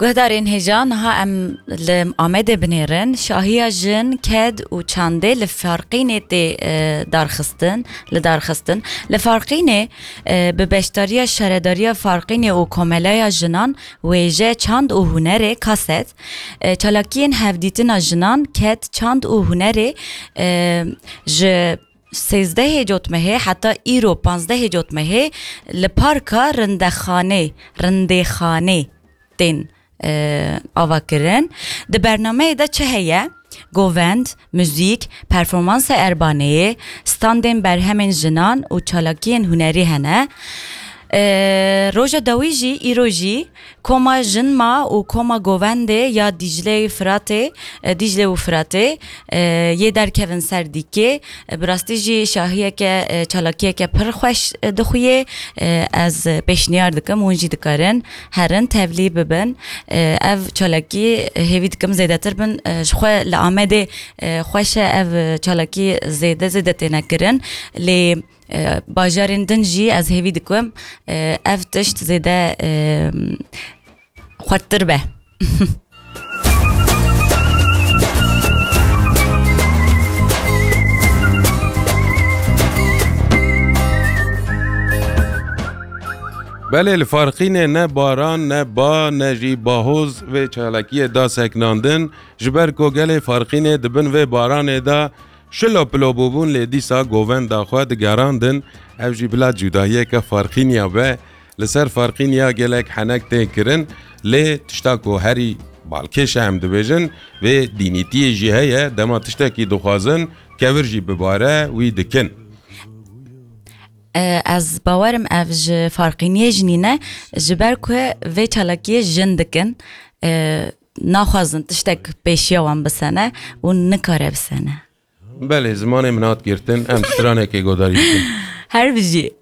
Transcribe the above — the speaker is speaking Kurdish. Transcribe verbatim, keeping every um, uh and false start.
Guhdarên hêja, niha em li Amedê binêrin. Şahiya jin, ked û çandê li Farqînê tê, e, darxistin, li darxistin. Li Farqînê, e, bi beşdariya Şaredariya Farqînê û Komelaya Jinan, Wêje, Çand û Hunerê, KASET, e, çalakiyên hevdîtina jinan, ked, çand û hunerê, e, ji sêzdehê Cotmehê heta îro panzdehê Cotmehê li Parka Rindexanê, Rindêxanê tên, e, avakirin. Di bernameyê de çi heye? Govend, muzîk, performansa erbaneyê, standên berhemên jinan û çalakiyên hunerî hene. E, roja dawî jî, îro jî, Koma Jinma û Koma Govendê ya Dîcle û Firatê, e, Dîcle û Firatê, e, yê derkevin ser dîkê. E, bi rastî jî şahiyeke, e, çalakiyeke pir xweş, e, dixuyê. E, ez pêşniyar dikim, hûn jî dikarin herin tevlî bibin. E, ev çalakî, e, hêvî dikim zêdetir bin. E, ji xwe li Amedê, e, xweş e, ev çalakî zêde zêde têne kirin. Lê, e, bajarên din jî ez hêvî dikim, e, ev tişt zêde, e, xurttir be. Belê, li Farqînê ne baran, ne ba, ne jî bahoz vê çalakiyê da seknandin, ji ber ku gelê Farqînê di bin vê baranê de şilo pilo bûbûn, lê dîsa govenda xwe digerandin. Ev jî bila cudahiyeke Farqîniya be. Li ser Farqîniya gelek henek tê kirin, lê tişta ku herî balkêş e, em dibêjin, vê dînîtiyê jî heye, dema tiştekî dixwazin, kevir jî bibare, wî dikin. E, ez bawerim ev ji Farqîniyê jî nîne, ji ber ku vê çalakiyê jin dikin, e, naxwazin tiştek pêşiya wan bisene û nikare bisene. Belê, zimanê min hat girtin, em stranekê godarî bikin. Her bijî.